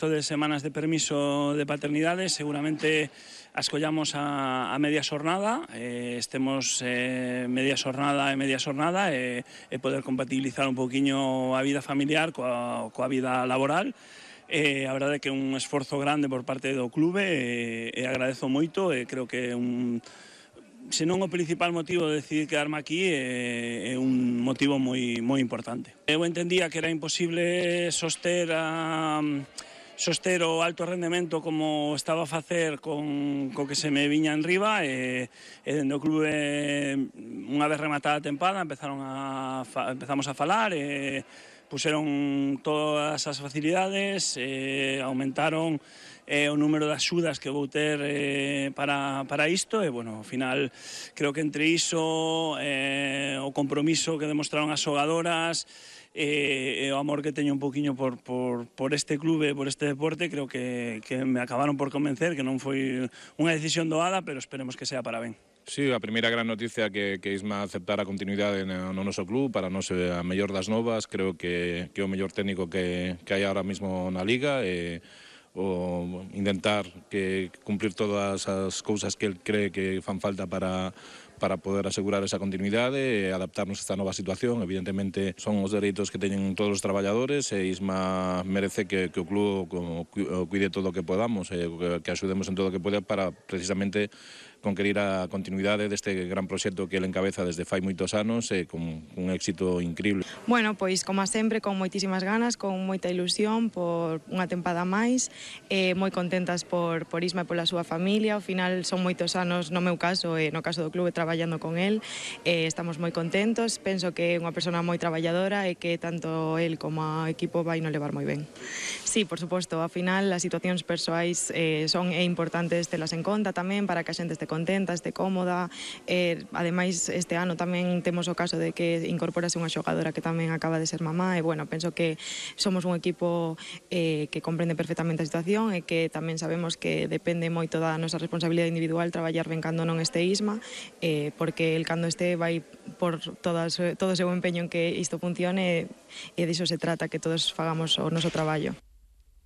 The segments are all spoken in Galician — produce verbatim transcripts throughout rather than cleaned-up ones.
De semanas de permiso de paternidade seguramente as collamos a, a media xornada, eh, estemos eh, media xornada e media xornada e, e poder compatibilizar un poquinho a vida familiar coa, coa vida laboral. Eh, a verdade é que é un esforzo grande por parte do clube e, e agradezo moito e creo que é un se non o principal motivo de decidir quedarme aquí é, é un motivo moi, moi importante. Eu entendía que era imposible soster a soster o alto rendemento como estaba a facer con co que se me viña en riba e, e dende o clube unha vez rematada a tempada empezaron a empezamos a falar e puseron todas as facilidades, e aumentaron eh, o número de axudas que vou ter eh, para, para isto e, bueno, ao final creo que entre iso eh, o compromiso que demostraron as xogadoras e, e o amor que teño un poquinho por, por, por este clube, por este deporte, creo que, que me acabaron por convencer que non foi unha decisión doada, pero esperemos que sea para ben. Sí, a primeira gran noticia que, que Isma aceptara a continuidade no, no noso club, para nós é a mellor das novas, creo que, que é o mellor técnico que, que hai ahora mismo na Liga e o intentar que cumplir todas as cousas que el cree que fan falta para para poder asegurar esa continuidade e adaptarnos a esta nova situación. Evidentemente son os dereitos que teñen todos os traballadores e Isma merece que, que o club o cuide todo o que podamos e que, que axudemos en todo o que poda para precisamente conquerir a continuidade deste gran proxecto que ele encabeza desde fai moitos anos e con un éxito increíble. Bueno, pois como sempre con moitísimas ganas, con moita ilusión por unha tempada máis, eh, moi contentas por, por Isma e pola súa familia. Ao final son moitos anos, no meu caso e no caso do clube, traballando con el, eh, estamos moi contentos, penso que é unha persona moi traballadora e que tanto el como o equipo vai no levar moi ben. Sí, por suposto, ao final as situacións persoais eh, son é importantes telas en conta tamén para que a xente este contenta, este cómoda. Eh, ademais, este ano tamén temos o caso de que incorporase unha xogadora que tamén acaba de ser mamá e, bueno, penso que somos un equipo eh, que comprende perfectamente a situación e que tamén sabemos que depende moito da nosa responsabilidade individual traballar ben cando non este Isma, eh, porque el cando este vai por todas, todo o seu empeño en que isto funcione e diso se trata, que todos fagamos o noso traballo.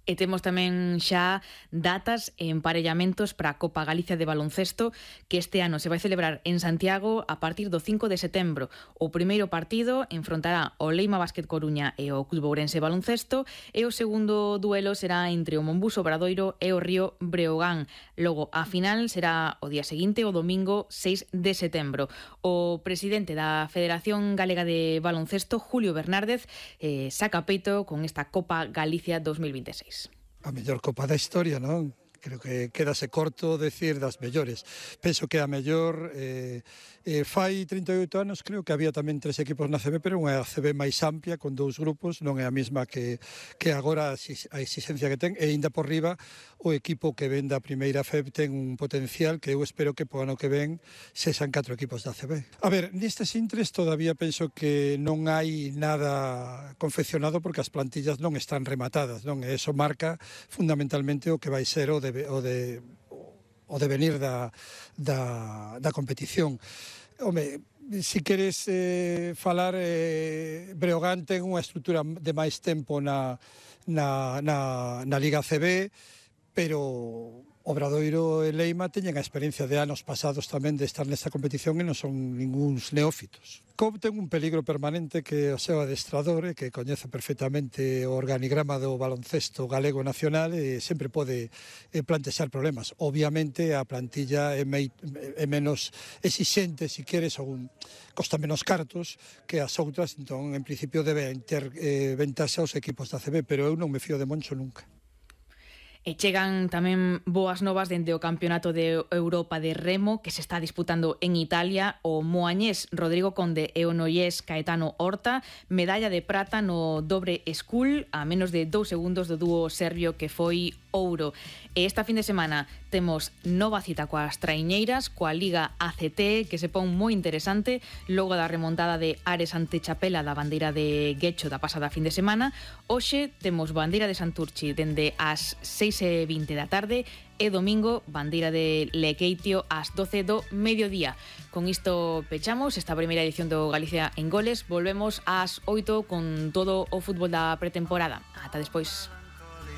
E temos tamén xa datas e emparellamentos para a Copa Galicia de baloncesto que este ano se vai celebrar en Santiago a partir do cinco de setembro. O primeiro partido enfrontará o Leima Básquet Coruña e o Club Ourense Baloncesto e o segundo duelo será entre o Monbus Obradoiro e o Río Breogán. Logo, a final será o día seguinte, o domingo seis de setembro. O presidente da Federación Galega de Baloncesto, Julio Bernárdez, eh, saca peito con esta Copa Galicia dos mil veintiséis. A mellor Copa da historia, non? Creo que quedase corto decir das mellores. Penso que a mellor eh, eh, fai trinta e oito anos, creo que había tamén tres equipos na C B, pero unha C B máis amplia, con dous grupos, non é a mesma que, que agora a exigencia que ten, e ainda por riba o equipo que ven da primeira F E B ten un potencial que eu espero que po ano que ven sexan catro equipos da C B. A ver, nestes intres todavía penso que non hai nada confeccionado porque as plantillas non están rematadas, non? E eso marca fundamentalmente o que vai ser o de o de o devenir da, da, da competición. Home, si queres eh, falar, eh, Breogán ten unha estrutura de máis tempo na, na, na, na Liga C B, pero Obradoiro e Leima teñen a experiencia de anos pasados tamén de estar nesta competición e non son ninguns neófitos. C O B ten un peligro permanente que o seu adestrador, que coñece perfectamente o organigrama do baloncesto galego nacional e sempre pode plantexar problemas. Obviamente a plantilla é, mei, é menos exixente, se queres, ou costa menos cartos que as outras, entón en principio deben ter eh, ventaxa os equipos da C B, pero eu non me fío de Moncho nunca. E chegan tamén boas novas dende o Campeonato de Europa de Remo que se está disputando en Italia. O moañés Rodrigo Conde e o noiés Caetano Horta, medalla de prata no dobre school a menos de dous segundos do dúo serbio que foi ouro. E esta fin de semana temos nova cita coas traiñeiras, coa Liga A C T, que se pon moi interesante logo da remontada de Ares ante Chapela da bandeira de Guecho da pasada fin de semana. Hoxe temos bandeira de Santurchi dende as seis e vinte da tarde e domingo bandeira de Lequeitio ás doce do mediodía. Con isto pechamos esta primeira edición do Galicia en Goles. Volvemos ás oito con todo o fútbol da pretemporada. Ata despois.